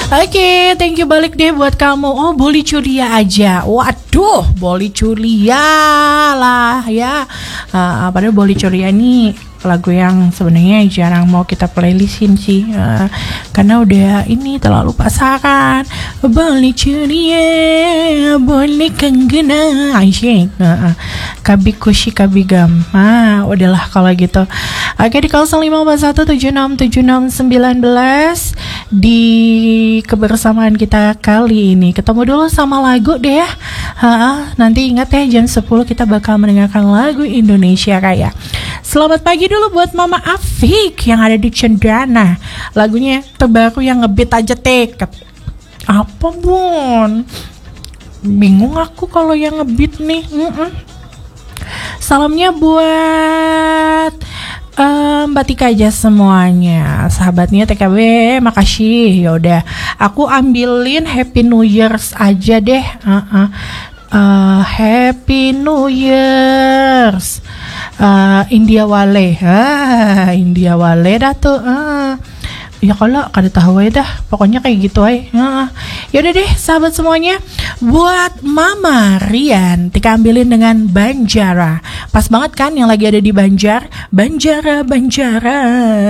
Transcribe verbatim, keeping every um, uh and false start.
Oke, thank you balik deh buat kamu. Oh, Boli Curia aja. Waduh, Boli Curia lah ya. Uh, padahal Boli Curia nih lagu yang sebenarnya jarang mau kita playlistin sih, uh, karena udah ini terlalu pasaran. Boli Curia, Boli Kenggena, asyik. Uh, uh. Kabi Kushi Kabi Gam. Ah, udahlah kalau gitu. Oke, di kosong lima empat satu tujuh enam tujuh enam sembilan belas, di kebersamaan kita kali ini. Ketemu dulu sama lagu deh ya. Ha, nanti ingat ya, jam sepuluh kita bakal mendengarkan lagu Indonesia Raya. Selamat pagi dulu buat Mama Afik yang ada di Cendana. Lagunya terbaru yang ngebit aja, teket. Apa, Bun? Bingung aku kalau yang ngebit nih. Mm-mm. Salamnya buat, eh, Mbak Tika aja semuanya. Sahabatnya T K B, makasih. Ya udah, aku ambilin Happy New Year's aja deh. Heeh. Eh, Happy New Year's. Eh, India Wale. Ah, India Wale dah tuh. Ah. Ya kalau kada tahu aja dah, pokoknya kayak gitu aja. Heeh. Ya udah deh, sahabat semuanya, buat Mama Rian, Tika ambilin dengan Banjara. Pas banget kan yang lagi ada di Banjar? Banjara, Banjara.